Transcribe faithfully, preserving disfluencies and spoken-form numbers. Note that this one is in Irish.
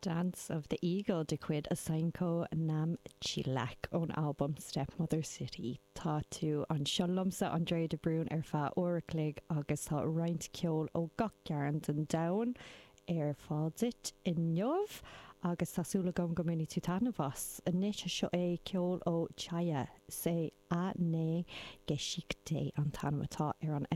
Dance of the Eagle de chuid Asanko Namchilak ón albam Stepmother City. Tá tú anseo liomsa Andrea de Brún ar feadh uair a chloig agus tá roinnt ceol ó gach cearn den domhan ar fáil duit inniu agus tá súil agam go mbainfidh tú taitneamh as. Anois seo é ceol ó Chaya sé a né Geschichte an t-ainm atá ar an